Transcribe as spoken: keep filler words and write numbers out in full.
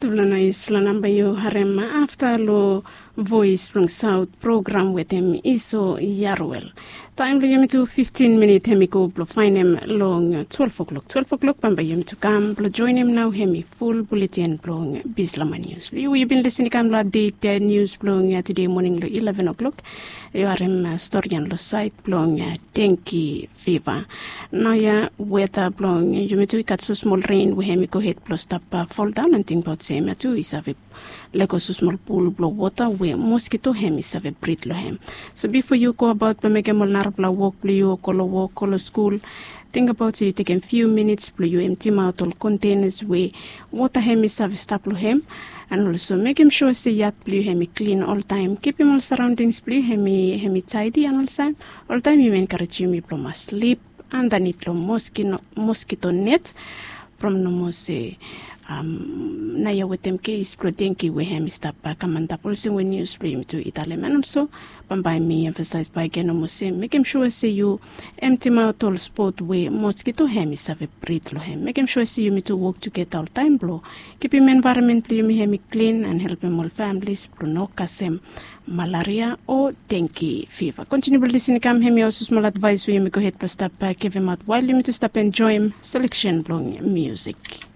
Tufala nais, tufala namba yu harem afta lo Voes blong Saot program wetem Iso Yaruel. Taem blong yumi tu fiftin minit hem i go blong faenem long twelef o'klok. Twelef o'klok bambae yumi tu kam blong joenem nao hem i ful buleten blong Bislama Nius. Yu bin lisin i kam long apdet nius blong tede moning long ileven o'klok. Yu harem stori ya long saed blong dengki fiva. Naoia weta blong yumi tu i gat so smol ren we hem i gohed blong stap foldaon, and tingbaot se hemia tu i save lego so smol pul blong wota we moskito hem i save brid long hem. So bifo yu go abaot blong mekem ol narafala wok blong yu o go long wok, go long skul, tingbaot se yu tekem fiu minits blong yu emtimaot ol kontenas we wota hem i save stap long hem. And olso mekem sua se yat blong yu hem i klin oltaem. Kipim ol saraondings blong yu hem i taedi, and oltaem, oltaem yumi enkarejem yu blong mas slip andanit long moskito net from nomo se naoia wetem kes blong dengki we hem i stap kam antap olsem we nius blong yumi tu i talem. And olso bambae mi emfasaes bakegen nomo se mekem sua se yu emtimaot ol spot we moskito hem i save brid long hem. Mekem sua se yumi tu wok tugeta oltaem blong kipim envaeronmen blong yumi hem i klin and helpem ol familis blong no kasem malaria o dengki fiva. Kontiniu blong lisin i kam, hemia olsem smol advaes we yumi gohed blong stap givim aot wael yumi tu stap enjoem seleksen blong musik.